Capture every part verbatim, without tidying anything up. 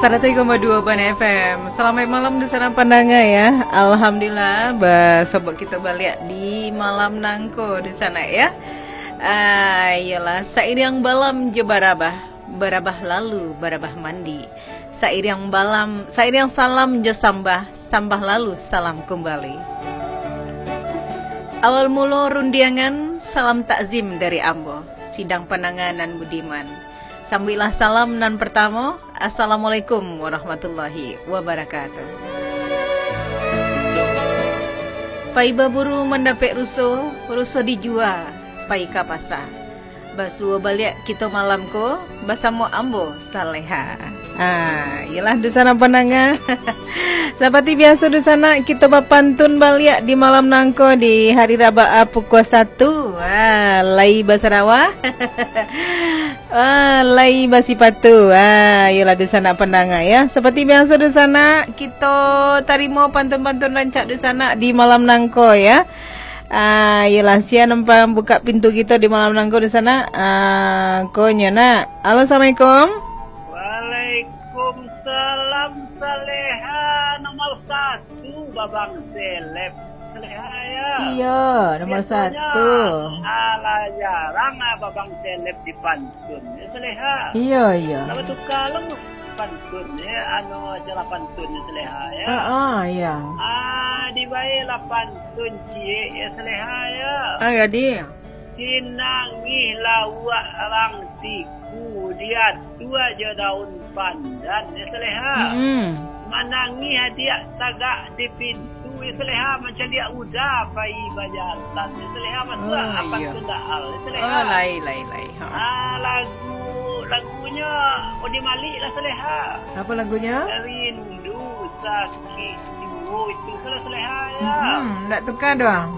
Saratuih koma duo Ban F M. Salamaik malam di sana pandanga ya. Alhamdulillah, basobok kito baliak di malam nangko di sana ya. Ah, iyolah, sairiang balam jo barabah, barabah lalu, barabah mandi. Sairiang balam, sairiang salam jo sambah, sambah lalu salam kumbali. Awal mulo rundiangan, salam takzim dari ambo, sidang pandanga nan budiman. Sambuiklah salam nan partamo, Assalamualaikum warahmatullahi wabarakatuh. Pai baburu mandapek ruso, ruso dijua, pai ka pasa. Basuo baliak kito malam ko basamo ambo, Saleha. Ah, iyolah, dunsanak pandanga. Sapati biaso, dunsanak, kito bapantun baliak di malam nangko di hari Rabaa pukua satu. Ah, lai basarawa. Ah, lai basipatu. Ah, iyolah, dunsanak pandanga ya. Sapati biaso, dunsanak, kito tarimo pantun-pantun rancak dunsanak di malam nangko ya. Ah, iyolah, sia nan pambukak pintu kito di malam nangko dunsanak. Ah, ko nyo nak. Halo, assalamualaikum. Waalaikumsalam, Saleha. Nomor satu, Babang Seleb. Saleha, ya. Iyo, nomor Biasanya, satu. Alah jarang lah Babang Seleb di pantun, ya, Saleha. Iyo, iyo. Kalau tukar lah pantun, ya, anu, acara pantun, ya, Saleha, ya. Ah, ah, iyo. Ah, dibayar lah pantun ciek, ya, Saleha, ya. Ah, jadi. Sinangih lauak rang siku, diatua jo daun pandan, ya Saleha. Mm-mm. Manangih adiak tagak di pintu, ya Saleha, mancaliak uda pai bajalan, ya Saleha, masuak Oh, apan iya. Kendaan, ya Saleha. Oh, lai, lai, lai. Ha. Ah, lagu, lagunyo Odi Malik lah Saleha. Apa lagunyo? Rindu sakik juo itu, salah Saleha, ya. Mm-mm, ndak tukar doh.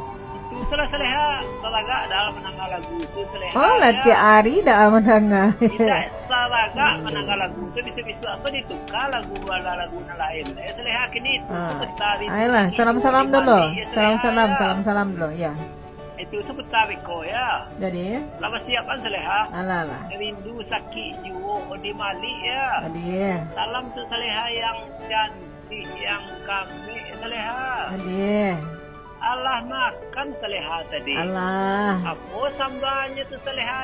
Itu salah Saleha, talagak dah mandanga lagu tu Saleha, Oh, lah ya. Tiap hari dah mandanga. Indak talagak Hmm. mandanga lagu tu, bisa-bisa apa ditukar lagu, ala lagu nan lain. Eh, Saleha kini tu Ah, sebentar ini ayolah, ini salam-salam Odi dulu. Malik, ya, Saleha, Salam-salam, ya. Salam-salam dulu, ya. Itu sebentar beko, ya. Jadi? Lah basiap kan, Saleha? Alah, alah. Rindu sakik juo Odi Malik, ya. Jadi? Salam tu Saleha yang cantik, yang kambik, Saleha. Jadi? Alah makan Saleha tadi. Alah. Apo sambahnyo tu Saleha?